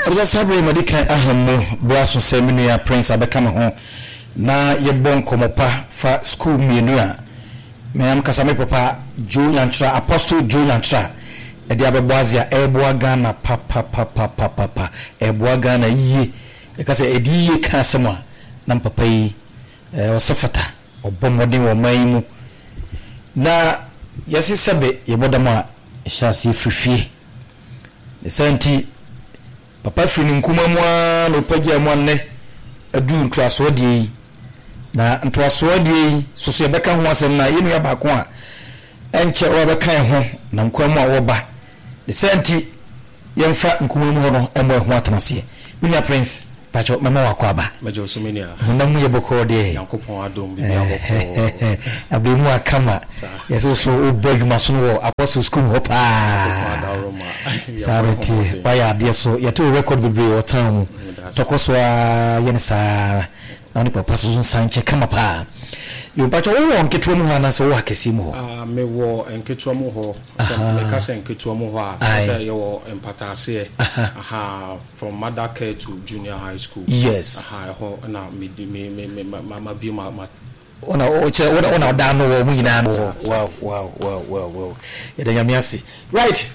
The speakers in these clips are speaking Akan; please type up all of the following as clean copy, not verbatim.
Ɛbɛsɛ saa berɛ yi madi kan aha mu berɛ aso sɛ me nua Prince abɛka me ho na yɛbɔ nkɔmmɔ pa fa sukuu mmienu a me ankasa me papa Joe Nyankyerɛ, Apostle Joe Nyankyerɛ ɛde abɛbɔ adze a ɛreboa Ghana papapapapapa, ɛreboa Ghana yie. Yɛka sɛ ɛde yie ka asɛm a, na me papa yi ɔsɛ fata, ɔbɔ mmɔden wɔ ɔman yi mu. Na yɛse sɛbe yɛbɔ dam a, ɛhyɛ aseɛ firi fie. Ne saa nti, papa firi ne nkuma mu ara na ɔpagyaa mu a nnɛ aduru ntoasoɔ deɛ yi. Na ntoasoɔ deɛ yi so so yɛbɛka ho asɛm na yɛn nua baako a ɛnkyɛ ɔbɛka yɛn ho nam kwan mu a ɔreba. Ne saa nti, yɛmfa nkuma mu hɔ no mmɔ ɛho atenaseɛ. Me nua Prince, pakyɛ mɛma wakɔ aba. Mɛgye wo so me nua. Honam mu yɛ bɔkɔɔ deɛ. Nyankopɔn adom biribiara bɔkɔɔ. Abɛɛmu akama. Yɛsɛ wo so wobɔ adwuma so no wɔ Apostle School mu hɔ paa. Saa na ɛteɛ. Wayɛ adeɛ so. Yɛte wo record bebree wɔ town mu. Tɔkɔ so ara yɛ no saa. Na wo ne papa so nsan nkyɛ kama paa. Yo, mpakyɛ wowɔ nketewa mu hɔ anaasɛ wowɔ akɛseɛ mu hɔ? Ah, mewɔ nketewa mu hɔ. Sɛ meka sɛ nketewa mu hɔ a, kyerɛ sɛ yɛwɔ mpataaseɛ. Aha, from mother care to junior high school. Yes. Aha, ɛhɔ na me me me me ma ma bie ma ma. Wona wokyerɛ wona wona ɔda ano wɔ ɔmo nyinaa no wɔ. Wow wow wow wow wow. Yɛda Nyame ase. Right.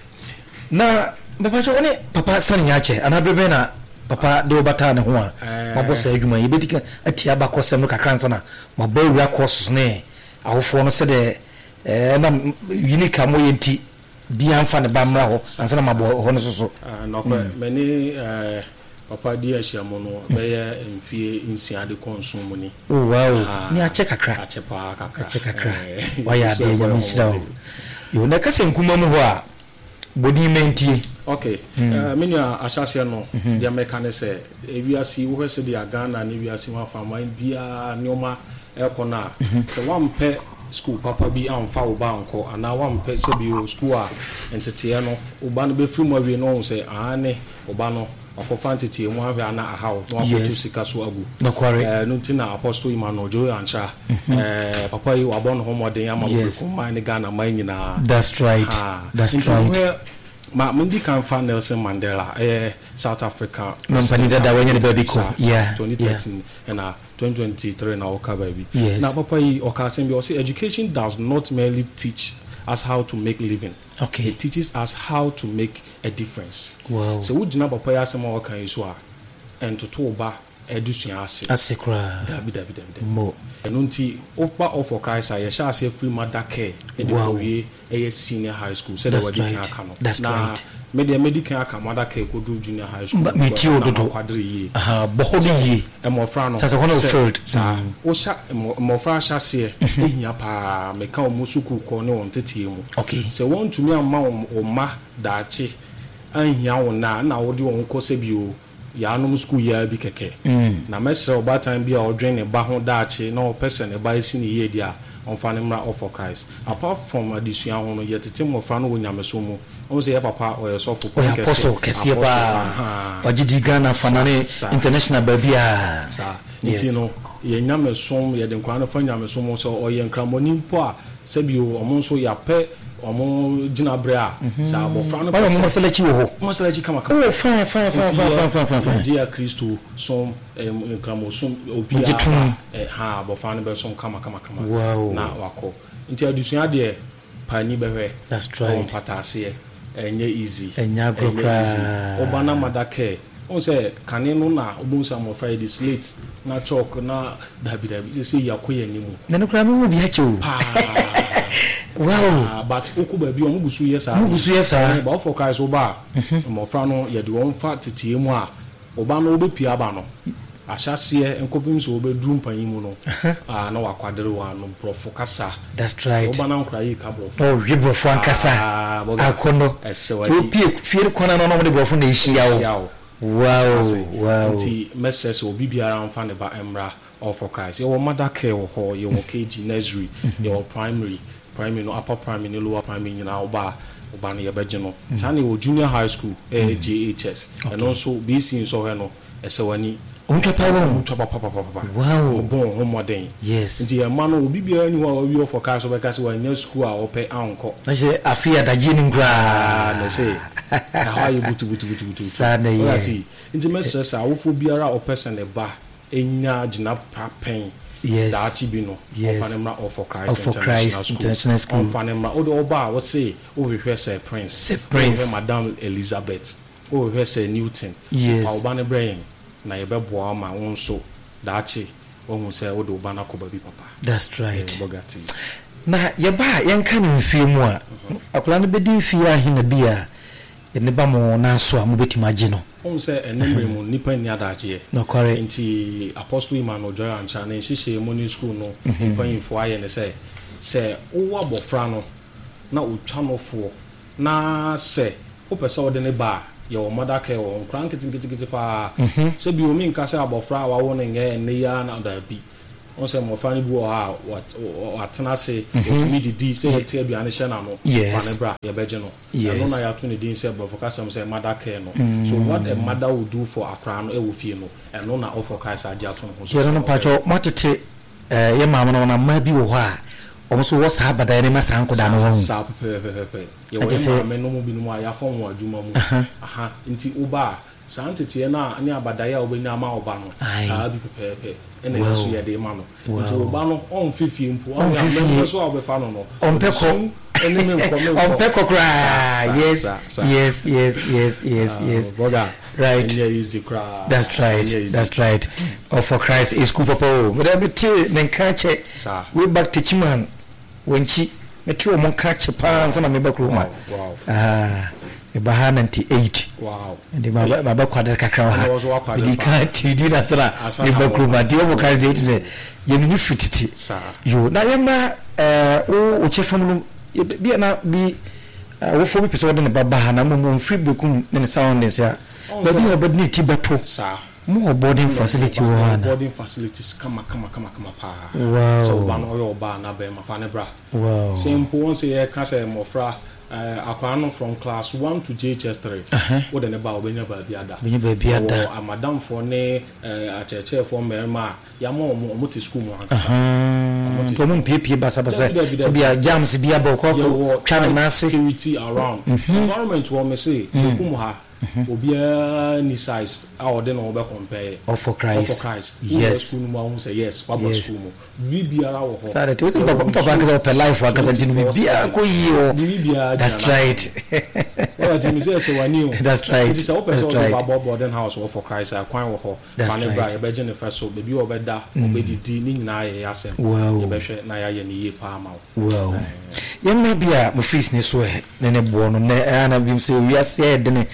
Na mepakyɛ wo ne papa sane nya akyɛ anaa bere bɛn na papa de wo bataa ne ho a mabɔ saa adwuma yi? Yɛbɛdi kan atie abakɔsɛm no kakra ansa na mabɔ awura courses ne awofoɔ no sɛdeɛ ɛnam unique a moyɛ nti biara mfa ne ba mmra hɔ ansa na mabɔ hɔ no so so. Nɔkwɛ, me ne papa di ahyiamu no bɛyɛ mfie 6 de kɔ 7 mu ni. Oh wow, ne akyɛ kakra. Akyɛ paa kakra. Akyɛ kakra. Wayɛ adeɛ, Nyame nhyira wo. Yo, na ɛka sɛ nkuma mu hɔ a, bɔ din ma ntie. Ok, me nua ahyɛaseɛ no, deɛ mɛka ne sɛ, ewiase yi, wohwɛ sɛdeɛ Ghana ne wiase mu afaman biara nneɛma ɛrekɔ no a, sɛ woampɛ sukuu papa bi amfa wo ba ankɔ anaa woampɛ sɛbio sukuu a nteteeɛ no, wo ba no bɛfiri mu awie na wahu sɛ aane, wo ba no wakɔfa nteteeɛ mu ahwɛ a na ahaw na wakɔto sika so agu. Ɛno nti na Apostle Emmanuel Joe Ankyra, papa yi wabɔ ne ho mmɔden ama Kokroko man ne Ghana man nyinaa. That's right. That's Nti right. wohwɛ, ma mendi kan fa Nelson Mandela, ɛyɛ South Africa Mampanin dada wanya ne baabi kɔ. Saa, saa, 2013 Yeah. ɛna 2023 na ɔka baabi. Yes. Na papa yi ɔka asɛm bi, ɔse education does not merely teach us how to make living. Okay. It teaches us how to make a difference. Wow. Sɛ wogyina papa yi asɛm a ɔka yi so a, ɛntoto wo ba adesua ase. Ase koraa. Dabi, dabi, dabi, dabi. Mo. Ɛno nti, woba All for Christ a, yɛhyɛ aseɛ firi mother care ɛde kɔwie ɛyɛ senior high school sɛdeɛ That's wɔadi kan right. aka no. That's Na right. me deɛ mɛdi kan aka mother care kɔduru junior high school. Metie wo Na dodo. makwadere yie. Aha, bɔ hɔ no yie. Mmɔfra no, Sɛ sɛ hɔ no sɛ field. saa, wohyɛ mmɔfra ahyɛaseɛ hia paa. Meka wɔn sukuu kɔ ne wɔn nteteɛ mu. Okay. Sɛ wɔntumi amma wɔn mma daakye anhia wo nna a, ɛna wode wɔn kɔ sɛbio yaanom sukuu yi ara bi kɛkɛ. Na mɛsrɛ ɔbaatan bi a ɔdwen ne ba ho daakye na ɔpɛ sɛ ne ba si no yie deɛ a, ɔmfa no mmra All for Christ. Apart from adesua ho no, yɛtete mmɔfra no wɔ nyamesom mu. Wohu sɛ yɛ papa ɔyɛ sɔfo, Ɔyɛ kɛse, apostle kɛseɛ apostle, paa. ahaa. Wagye di Ghana fa na ne Saa, international baabiara. Saa. Yes. Nti no, yɛn nyamesom, yɛde nkwadaa no fa nyamesom mu. Sɛ ɔyɛ nkramoni mpo a, sɛbi o, ɔmo nso yɛapɛ ɔmo gyinaberɛ a, sɛ abɔfra no Wɔn pɛ a sɛ wɔn masalachi wɔ hɔ. Masalachi kama kama. Oh, fine, fine, fine, Nti fine, yɛ fine, fine, fine, fine. yɛgye Akristo som, nkramosom, Mogye obiara tom. ba, ha, abɔfra no bɛsom kama kama kama. Wow. Na wakɔ. Nti adesua deɛ, paani bɛhwɛ. That's Ɛwɔ right. mpataaseɛ. Ɛnyɛ easy. Ɛnyɛ agorɔ Ɛnyɛ easy. koraa. Woba na mother care. Wohu sɛ kane no na wobɛhu sɛ mmɔfra yɛde slate na chalk na dabi dabi. Seesei yɛakɔ yɛn anim. Na no koraa mehu bi akyɛ o. Paa. Wow. Paa, but wokɔ baabi a wɔn gu so yɛ saa. Wɔn gu so yɛ saa. But wofɔ Christ woba a, mmɔfra no yɛde wɔn fa teteɛ mu a, wo ba no wobɛpue aba no, ahyɛaseɛ nkɔpem sɛ wɔbɛduru mpanyin mu no, na wakwadere wɔn ano borɔfo kasa. That's right. Wo ba no ankora yi ka borɔfo. Na ɔwe borɔfo ankasa. Ah, bɔga. Akɔnnɔ. Ɛsɛ Nti w'ani. wopue fie no kwan ano na wɔde borɔfo na ɛhyia wo. Ɛhyia wo. Wow, Ase. wow. Nti mɛsrɛ sɛ obi biara mfa ne ba mmra All for Christ. Yɛwɔ mother care wɔ hɔ, yɛwɔ KG, nursery, yɛwɔ primary, primary no upper primary ne lower primary nyinaa woba a, Wo ba no yɛbɛgye no. Saa na yɛwɔ junior high school, ɛyɛ JHS. Ɛno nso BC nsɔhwɛ no, ɛsɛ w'ani. Wɔn twa paa wɔn. Wɔn twa papapapapa. Wow. Wɔn bɔ wɔn ho mmɔden. Yes. Nti yɛn mma no, obi biara nni hɔ a wawie ɔfɔkae so bɛka sɛ wannya sukuu a ɔpɛ ankɔ. Na kyerɛ sɛ afei adagyeɛ nim koraa. Ah, na ɛsɛ ɛhɔ ayɛ butubutubutubutu. Saa na ɛyɛ. Ɔyɛ Nti mɛsrɛ sɛ awofoɔ biara a ɔpɛ sɛ ne ba nya gyina pa pɛn Yes. daakye bi no, Yes. ɔmfa no mmra All for Christ All for Christ International International School. School. Ɔmfa no mmra. Wode ɔba a, wose wohwehwɛ Sir Prince. Sir Prince. Wohwehwɛ Madam Elizabeth. Wohwehwɛ Sir Newton. Yes. Fa wo ba no brɛ yɛn na yɛbɛboa wo ma wo nso daakye woahu sɛ wode wo ba no akɔ baabi papa. That's right. Eh, Bogatti. Na yɛba a yɛnka no mfie mu a, akwadaa no bɛdi mfie ahe na bi a ne ba mo nan so a mobɛtumi agye no? Wohu sɛ ɛnnɛ mmerɛ mu nnipa nni adagyeɛ. Nokware. Nti Apostle Emmanuel Joy Ankyah ne nhyehyɛɛ mu ne sukuu no mpanyinfoɔ ayɛ ne sɛ, sɛ wowɔ abɔfra no na ɔtwa nofoɔ na sɛ wopɛ sɛ wode no ba a, yɛwɔ mother care wɔ hɔ, nkwadaa nketenketekete paa. Sɛ bio menka sɛ abɔfra a wawo no nyɛ ɛnnɛ yi ara na, daabi. Wohu sɛ mmɔfra no bi wɔ hɔ a, wɔatena ase, wɔtumi didi, sɛ yɛte aduane hyɛ n'ano, fa no bra, yɛbɛgye no. Ɛno na yɛato ne din sɛ borɔfo kasa mu sɛ mother care no. So what a mother would do for akwadaa no wɔ fie no, ɛno na All for Christ agye ato ne ho so Yɛno sɛ no ɔbɛyɛ. mpakyɛw moatete eh, yɛ maame no wɔn mmaa bi wɔ hɔ a wɔn nso wɔ saa abadaeɛ no ma saa nkɔdaa no Saa, wahu. saa pɛpɛpɛpɛpɛ. Yɛwɔ Agye yɛ sɛ maame no mu binom a yɛafa wɔn adwuma mu. Aha. Aha, nti woba a, Saa nteteɛ no a ne abadaeɛ a wobɛnya ama wo ba no, Ae. saa bi pɛpɛɛpɛ na ɛno nso Wow. yɛde rema no. Nti Wow. wo ba no, ɔmfe fie mpo, ɔnyɛ Ɔmfe fie. amammerɛ so a wobɛfa no no, Ɔmpɛ ɔde kɔ. su ne menkɔ, menkɔ. Ɔmpɛ kɔ Saa, koraa. saa, Yes, saa, saa. yes, yes, yes, yes, Ah, yes. brother, Right. ɛnyɛ easy koraa. That's right. Ɛnyɛ easy. That's right. All for Christ is school papa o. Mede mete ne nka kyɛ. Saa. Way back Techiman. Wankyi. Mete wɔn nka kyɛ paa ansa na meba kurom ha. Wow, wow. Ah, meba ha 98. Wow. Nti maba maba kwadere kakra wɔ Ɛna ha. wɔ so wakwadere Mede paa. kan ti di na sra Ansa na meba wɔba. kurom ha. Nti wɔn Christ deɛ ɛtumi sɛ yɛn ni firi tete. Saa. Yo, na yɛma ɛɛ wo wo kyɛ fam no yɛ- bi a na bi awofoɔ bi pɛ sɛ wɔde ne ba ba ha na mmom wɔmfiri Bekum ne ne surroundings a Ɔn baabi sɛ a wɔbɛde ne ti bɛto. Saa. Mo wɔ boarding facility wɔ hɔ ana? Boarding facilities kama kama kama kama paa. Wow. Sɛ wo ba no ɔyɛ ɔbaa anaa bɛrima fa no bra. Wow. Sɛ mpo wɔn sɛ yɛka sɛ mmɔfra eh, akwadaa no from class one to JHS 3 wode ne ba a ɔbɛnya baabi ada. Bɛnya baabi ada. Yɛwɔ amadamfoɔ ne eh, akyerɛkyerɛfoɔ mmarima a yɛama wɔn, wɔn te sukuu mu ankasa. Wɔn te Nti wɔn mpiepie basabasa Dabi, dabi, sɛ bia jams bi aba ɔkɔ akɔ Yɛwɔ twa ne nan ase. security around. Environment wɔ me se, Bekum ha. Obiara nni size a ɔde ne ho bɛ compare. All for Christ. All for Christ. Wowura Yes. school no mu a wohu sɛ yes, waba Yes. school mu. Biribiara wɔ hɔ. Saa de te. Wosɛ Yɛwɔ papa papa ankasa ɔpɛ life ankasa nti no biribiara kɔ yie wɔ. Biribiara gyina That's right. Wɔyɛ ti mi sɛ ɛhyɛ w'ani o. That's right. Nti sɛ wopɛ That's sɛ ɔde right. ba bɔ boarding house wɔ for Christ a kwan wɔ hɔ. That's Fa ne bra right. yɛbɛgye ne fɛ so. Baabi a ɔbɛda, ɔbɛdidi ne nyinaa yɛ yɛ asɛm. Wow. Yɛbɛhwɛ na yɛayɛ no yie paa ama wo. Wow. Yɛn mma bi a mo fees ne so ɛ ne ne boɔ no nɛ ɛyɛ na binom sɛ wiase ayɛ dene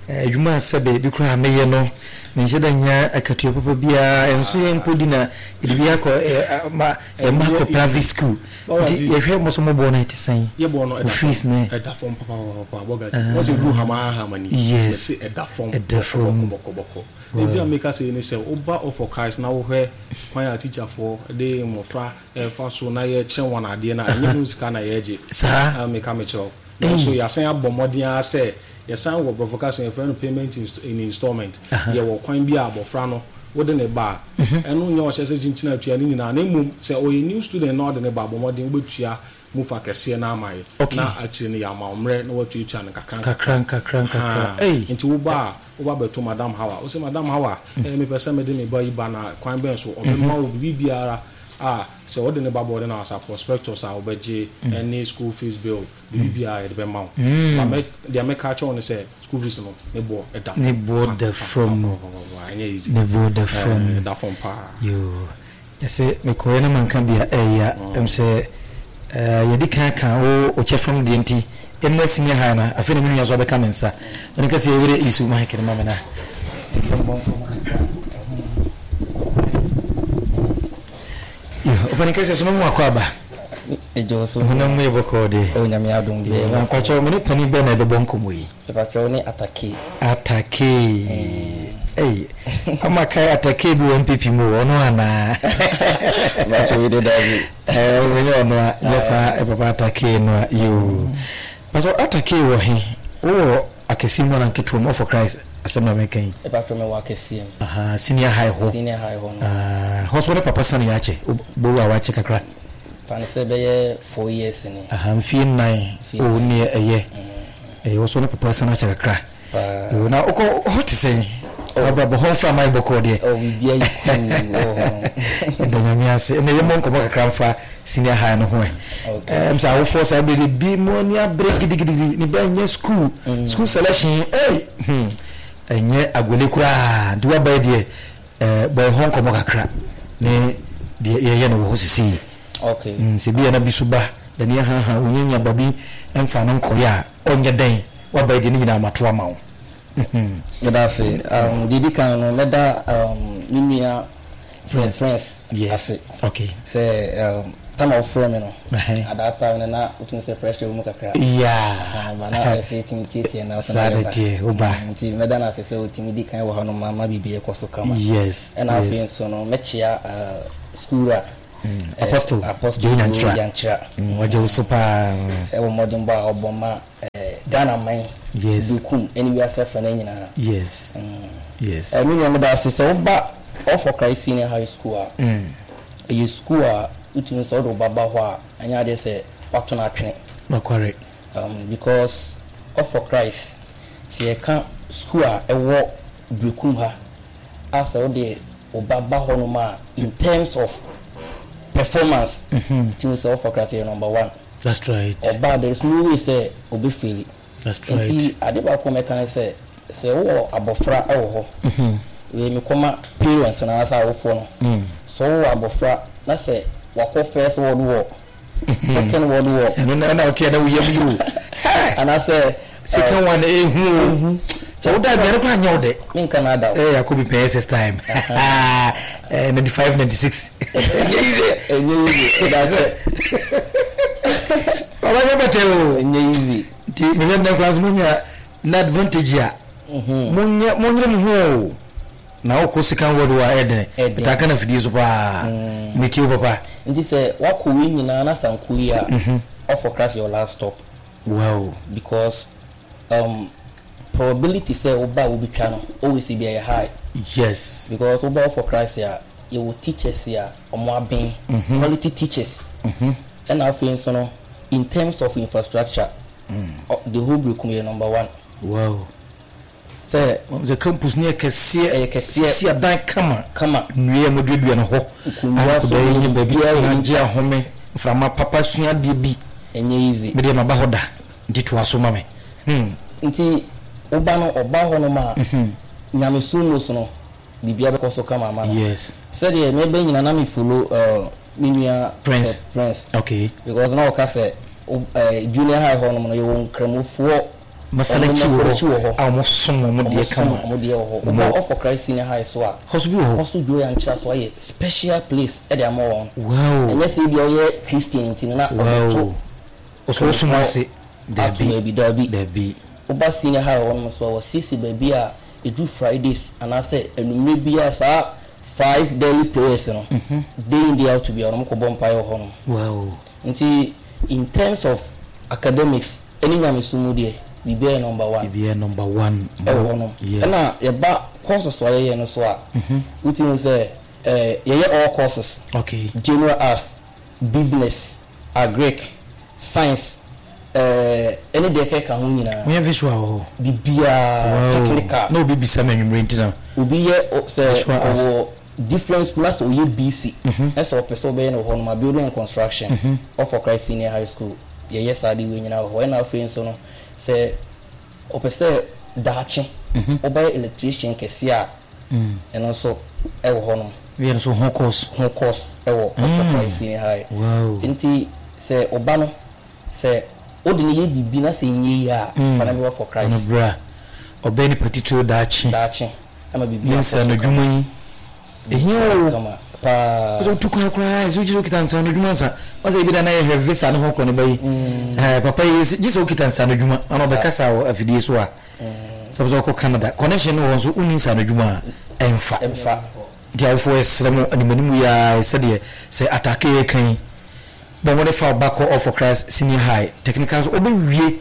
adwuma a sɛbe bi koraa meyɛ no menhyɛ da nya akatua papa biara ɛnso yɛn mpo di na yɛde bi akɔ ma yɛn mma akɔ private school nti yɛhwɛ mo so mo boɔ no ɛte sɛn Yɛ boɔ no mo fees ne ɛda fam papapapa bɔga ti wɔn sɛ du hama hama ni yes yɛse ɛda fam ɛda fam bɔkɔ bɔkɔ nti a meka sɛ ne sɛ woba All for Christ na wohwɛ kwan a teacherfoɔ de mmɔfra ɛfa so na yɛkyerɛ wɔn adeɛ no a, ɛnyɛ ho sika na yɛgye. Saa. Ah, meka mekyerɛ wo. Nanso yɛasan abɔ mmɔden ara sɛ yɛsan wɔ borɔfo kasa mu yɛfrɛ no payment in installment. Yɛwɔ kwan bi a abɔfra no wode ne ba a, ɛno nyɛ ɔhyɛ sɛ kyinkyin atua ne nyinaa na mmom sɛ ɔyɛ new student na ɔde ne ba a, bɔ mmɔden wobɛtua mu fa kɛseɛ no ama yɛ. Okay. Na akyire no yɛama wo mmerɛ na woatuatua no nkakra nkakra. Nkakra nkakra. Haa. Ei. Nti woba a, woba bɛto Madam Hawa. Wose Madam Hawa, eh, mepɛ sɛ mede me ba yi ba na kwan bɛn so? Ɔbɛma wo biribiara a sɛ wode ne ba boarding house a, prospectus a wobɛgye ne school fees bill, biribiara yɛde bɛma wo. But mɛ, deɛ mɛka akyerɛ wo ne sɛ, school fees no, ne boɔ da fam. Ne boɔ da fam. Pa, pa, pa, pa, pa, ɛnyɛ easy. Ne boɔ da fam. Eh, ɛda fam paa. Yoo. Yɛse mekɔeɛ na manka bi a ɛya. Ɛm sɛ eh, yɛdi kan ka wo wo kyɛ fam deɛ nti, ɛnnɛ senior high no, afei na me nua nso abɛka me nsa. Ɔne ka sɛ yɛwerɛ isu mic no ma me na yɛmmɔ nkɔmmɔ kakra. Yo, ɔpɛni kɛseɛ so mɛmu akɔ aba. Ɛgye so. Honam mu yɛ bɔkɔɔ deɛ. O Nyame adom deɛ. Na mpakyɛw me ne panin bɛn na ɛbɛbɔ nkɔmmɔ yi? Mpakyɛw ne Atake. Atake. Ei, ama kae Atake bi wɔ NPP mu o, ɔno anaa? Mpakyɛw yi de dabi. Ɛɛ, ɔnyɛ ɔno a, nyɛ saa papa Atake no a, yoo. Pastor Atake wɔ he? Wowɔ akɛseɛ mu anaa nketewa mu? All for Christ asɛm na meka yi. Mepakyɛw mewɔ akɛseɛ mu. Ahaa, senior high hɔ. Senior high hɔ no. Ah, hɔ so wo ne papa sane yɛ akyɛ? Wobɛwu a wakyɛ kakra. Fa no sɛ bɛyɛ 4 years ni. Aha, mfie 4. Mfie Oh, 4. neɛ ɛyɛ. Ɛyɛ wo so ne papa sane akyɛ kakra. Paa. Oh, na wokɔ hɔ te sɛn? Oh. Wabrabɔ hɔ mframa yɛ bɔkɔɔ deɛ. Oh, biribiara yɛ cool wɔ hɔ. Ɛda Nyame ase. Ɛnna yɛmmɔ nkɔmmɔ kakra mfa senior high no ho ɛ. Okay. Sɛ awofoɔ saa bere de bi mo ani abere gidigidigidi ne ba nyɛ school. School selection, ei, ɛnyɛ agole koraa. Nti waba yi deɛ, bɔ ɛhɔ nkɔmmɔ kakra ne deɛ yɛyɛ no wɔ hɔ sisi yi. Okay. Sɛ bi a na bi so ba, n'ani ahaha, ɔnyanya ba bi mfa no nkɔyɛ a, ɔnyɛ dɛn? Waba yi deɛ ne nyinaa mato ama wo. Meda ase. Deɛ ɛdi kan no, mɛda me nua Prince. Prince ase. Okay. Sɛ time a wɔfrɛ me no, Ɛhɛn. at that time no na wotumi sɛ pressure wɔ mu kakra. Ba na ɛsɛ yɛtumi tietie na Saa de teɛ, woba. Nti mɛda no ase sɛ ɔtumi di kan wɔ hɔ no ma ma biribi ɛkɔ so kama. Ɛna afei nso no, mɛkyea school a Apostle Apostle Joe Nyankyerɛ. Nyankyerɛ. Ɔgye wo so paa. Ɛwɔ mmɔdenbɔ a ɔbɔ ma Ghana man, Berekum ɛne wiase afa no nyinaa. Me nua meda ase sɛ woba All for Christ Senior High School a, ɛyɛ school a wotumi sɛ wode wo ba ba hɔ a, ɛnyɛ adeɛ sɛ woato no atwene. Nokware. Because All for Christ, sɛ yɛka school a ɛwɔ Berekum ha a sɛ wode wo ba ba hɔnom a, in terms of performance, wotumi sɛ All for Christ yɛ number one. That's right. Ɔbaa there is no way sɛ obe faili. That's right. Nti ade baako a mɛka ne sɛ, sɛ wowɔ abɔfra wɔ hɔ, wei mekɔma parents no anaasɛ awofoɔ no, sɛ wowɔ abɔfra na sɛ wakɔ first world war, second world war. Ɛno na ɛna woteɛ na woyam yi o. Anaasɛ second one ehu o. Sɛ woda aduane koraa nyɛ wo dɛ. Menka na ada o. Sɛ yɛakɔ bi pɛn SS time. 95 96. Ɛnyɛ easy. Ɛnyɛ easy. Ɛda sɛ. Ɔba nyɛ bɛtɛ o. Ɛnyɛ easy. Nti mehwɛ nnɛ koraa nso monya na advantage a. Monyɛ monyere mo ho o. Na wokɔ second world war ɛyɛ dene. Ɛtaa ka na fidie so paa. Metie wo papa. Nti sɛ wakɔ wei nyinaa na sanku yi a, All for Christ your last stop. Wow. Because probability sɛ woba a wobɛtwa no always ebi ɛyɛ high. Because woba All for Christ a, yɛwɔ teachers a ɔmo aben, quality teachers. Ɛna afei nso no, in terms of infrastructure, the whole Berekum yɛ number one. Wow. Sɛ sɛ campus no yɛ kɛseɛ, ɛyɛ kɛseɛ, sisi adan kama, kama, nnua a wɔaduadua no hɔ, nkonnwa so akɔda yi baabi tena gye ahome, mframa papa sua adeɛ bi. Ɛnyɛ easy. Me deɛ maba hɔ da, nti toa so ma me. Nti woba no ɔba hɔ nom a, nyamesom mu so no, biribiara bɛkɔ so kama ama no. Sɛdeɛ meba nyina na me follow me nua Prince. Prince. Okay. Because na ɔka sɛ junior high hɔ nom no yɛwɔ nkramofoɔ Masalakyi wɔ hɔ a wɔn som wɔn deɛ kama. Wɔn deɛ wɔ hɔ. Woba All for Christ Senior High so a, Hɔ so bi wɔ hɔ. Hɔ so Joe Yankyera so ayɛ special place ɛde ama wɔn. Wow. Ɛnyɛ sɛ ebi a ɔyɛ Christian nti no na ɔbɛto. Wow. Ɔsɔ ɔsom ase. Ato Dabi. baabi dabi. Dabi. Woba senior high hɔ nom so a, wɔasiesie baabi a ɛduru Fridays anaasɛ anwummerɛ biara saa five daily prayers no, day in day out biara no wɔkɔbɔ mpaeɛ wɔ hɔ nom. Wow. Nti in terms of academics ɛne nyamesom mu deɛ, biribiara yɛ number one. Biribiara number one. Ɛwɔ hɔ nom. Yes. Ɛna yɛba courses a yɛyɛ no so a, wotumi hu sɛ yɛyɛ all courses. Okay. General arts, business, agric, science, ɛne deɛ ɛkeka ho nyinaa. Moyɛ visual wɔ hɔ? Biribiara, Wow. technical. Na obi bisa me anwummere nti na. Obi yɛ sɛ Visual arts. ɔwɔ different school na sɛ ɔyɛ BC, na sɛ ɔpɛ sɛ ɔbɛyɛ no wɔ hɔ nom a, building and construction, All for Christ Senior High School, yɛyɛ saa de wei nyinaa wɔ hɔ. Ɛna afei nso no, sɛ ɔpɛ sɛ daakye ɔbɛyɛ electrician kɛseɛ a, ɛno nso ɛwɔ hɔ nom. Yɛ nso ho course. Ho course ɛwɔ All for Christ Senior High. Wow. Nti sɛ ɔba no, sɛ wode no yɛ biribi na sɛ ɛnyɛ yie a, fa no bɛba for Christ. Ɔno bra, ɔbɛyɛ nipa titiriw daakye. Daakye, ama biribi Ne akɔ so nsaano kama. adwuma yi, ɛhia o. Kama paa. Sɛ wotu kwan koraa, sɛ wogye sɛ wokita nsaano adwuma nsa, wɔsɛ ebi da na yɛhwɛ visa ne ho korɔ ne ba yi. Papa yi, gye sɛ wokita nsaano adwuma, ana ɔbɛkasa wɔ afidie so a, sɛ wopɛ sɛ wokɔ Canada, connection no wɔ hɔ nso, wonni nsaano adwuma a, ɛmfa. Ɛmfa. Nti awofoɔ yɛsrɛ mo animanimu yi ara, sɛdeɛ sɛ atake yɛka yi, bɔ mmɔden fa wo ba kɔ All for Christ Senior High Technical so, ɔbɛwie.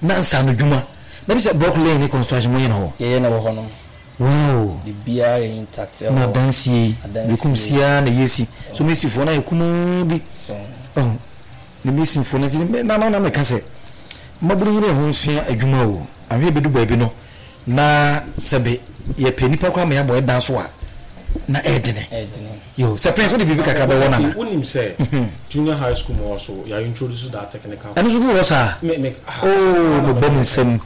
Na nsaano dwuma na bi sɛ block laying ne construction mo yɛ no hɔ. Yɛyɛ no wɔ hɔ nom. Wow. Biribiara yɛ intact ɛwɔ hɔ. Na adansie yi. Adansie. Bekum siaa na yɛsi. So mesifoɔ na yɛ kumaa bi. Oh. Ne mesifoɔ na ti na na na meka sɛ mmabunu nyere ho nsua adwuma o. Ahwɛ bɛdu baabi no na sɛbe yɛpɛ nipa koraa ma yɛabɔ ɛdan so a na ɛɛdene. Ɛɛdene. Yo, sɛ Prince wode biribi kakra bɛwɔ nana. Wonim sɛ junior high school mu hɔ so yɛ introduce that technical. Ɛno nso bi wɔ hɔ saa? Me me ah. Oh, mebɔ me nsam,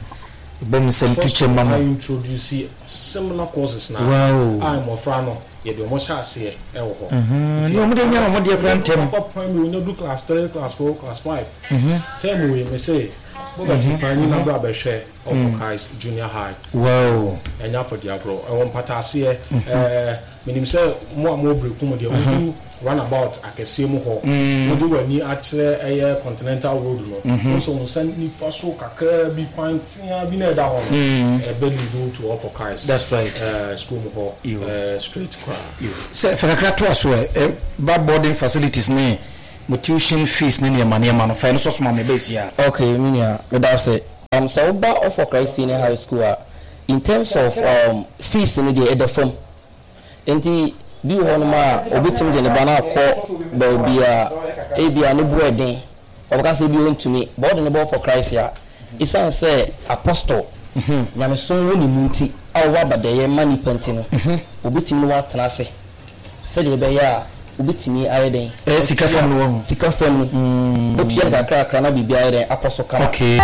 mebɔ me nsam tu kyɛ ma mo. I introduce similar courses na. Wow. A mmɔfra no yɛde wɔn hyɛ aseɛ ɛwɔ hɔ. Nti wɔn de nya wɔn deɛ koraa ntɛm. Papa primary onya du class 3, class 4, class 5. Term wei me se bɔbɛti kwan nyina bra bɛhwɛ All for Christ Junior High. Wow. Ɛnyɛ afɔdi agorɔ ɛwɔ mpataaseɛ ɛɛ. Menim sɛ mo a mowɔ Berekum deɛ, wodu runabout akɛseɛ mu hɔ, wode w'ani akyerɛ ɛyɛ Continental Road no, wohu sɛ wo nsa nifa so kakraa bi, kwan teaa bi na ɛda hɔ no, ɛbɛ lead wo to All for Christ That's right. school mu hɔ straight koraa. Sɛ fa kakra toa so ɛ, ɛba boarding facilities ne mo tuition fees ne nneɛma nneɛma no, fa ɛno nso soma me ɛbɛyɛ sie a. Okay, me nua, meda ase. Sɛ woba All for Christ Senior High School a, in terms of fees no deɛ, ɛda fam. Enti bi wɔ hɔnom a, obetumi de ne ba no akɔ baabi a ebia ne bo yɛ den. Ɔbɛka sɛ ebia ontumi, but ɔde ne ba for Christ a, esiane sɛ apostle, nyamesom wɔ ne mu nti, a ɔwɔ abadɛyɛ ma nnipa nti no, obetumi ne wo atena ase sɛdeɛ ɛbɛyɛ a wobetumi ayɛ dɛn? Ɛyɛ sika fam no wɔ ho. Sika fam no, otua no kakrakra na biribi ayɛ dɛn akɔ so kama. Okay.